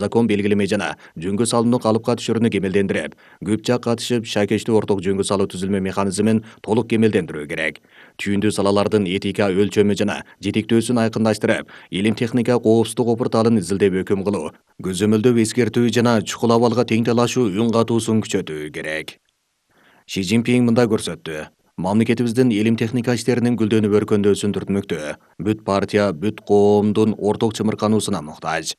закон белгилеме жана жөнгө салууну калыпка түшүрүүнү кемелдендирип, көп жак катышып шайкештүү орток жөнгө салуу түзүлмө механизмин толук кемелдендирүү керек. Түйүндүү салалардын этика өлчөмү жана жетектөөсүн айкындаштырып, илим техника коопсуздук опурталын изилдеп өкүм кылуу, көзөмөлдөп эскертүү жана чукул абалга тең талашуу үн катуусун күчөтүү керек. Ши Цзиньпин мындай көрсөттү. Мамлекетибиздин илим техника иштеринин гүлдөнүп өркөндөөсүн түртмөктө. Бүт партия, бүт коомдун орток чымыркануусуна муктаж.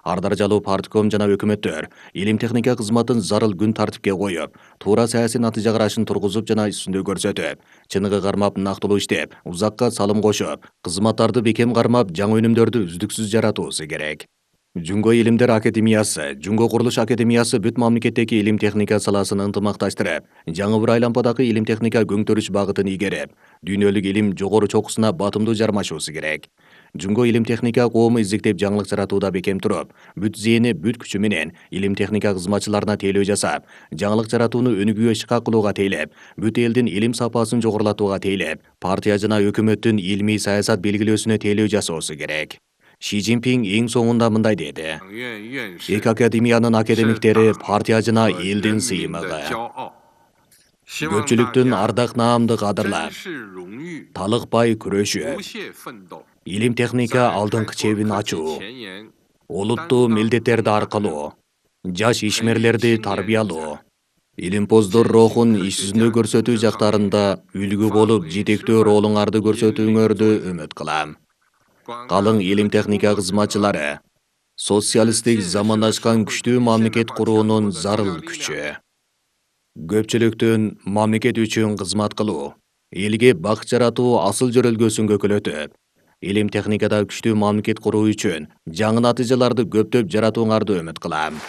Ар даражалуу партком жана өкмөттөр илим техника кызматын зарыл күн тартипке коюп, туура саясий натыйжа карашын тургузуп жана үстүндө көрсөтүп, чыныгы кармап нактылуу иштеп, узакка салым кошуп, кызматтарды бекем кармап, жаңы өнүмдөрдү үздүксүз жаратуусу керек. Жунго илимдер академиясы, Жунго курулуш академиясы бүт мамлекеттеги илим техника саласын ынтымакташтырып, жаңы бір айлампадагы илим техника көңтөрүш багытын ийгерип, дүйнөлүк илим жогору чокусуна батымдуу жармашуусу керек. Жунго илим техника коому изиктеп жаңылык жаратууда бекем туруп, бүт зээни, бүт күчү менен илим техника кызматчыларына тейлөө жасап, жаңылык жаратууну өнүгүүгө шыкак кылууга тейлеп, бүт элдин илим сапасын жогорулатууга тейлеп, партия жана өкмөттүн илмий саясат белгилөөсүнө тейлөө жасоосу керек. Ши Цзиньпин эң соңунда мындай деди. Эки академиянын академиктери партия жана элдин сыймыгы. Көпчүлүктүн ардак наамды кадырлап, талыкпай күрөшүп, илим техника алдыңкы чебин ачуу, олуттуу милдеттерди аркылоо, жаш ишмерлерди тарбиялоо, илимпоздор рухун иш жүзүндө көрсөтүү жактарында үлгү болуп жетектөө ролуңарды көрсөтүүңөрдү үмүт кылам. Калың илим техника кызматчылары социалисттик замандашкан күчтүү мамлекет куруунун зарыл күчү. Көпчүлүктүн мамлекет үчүн кызмат кылуу, элге бак жаратуу асыл жөрөлгөсүн көкөлөтүп, илим техникада күчтүү мамлекет куруу үчүн жаңы натыйжаларды көптөп жаратууңарды үмүт кылам.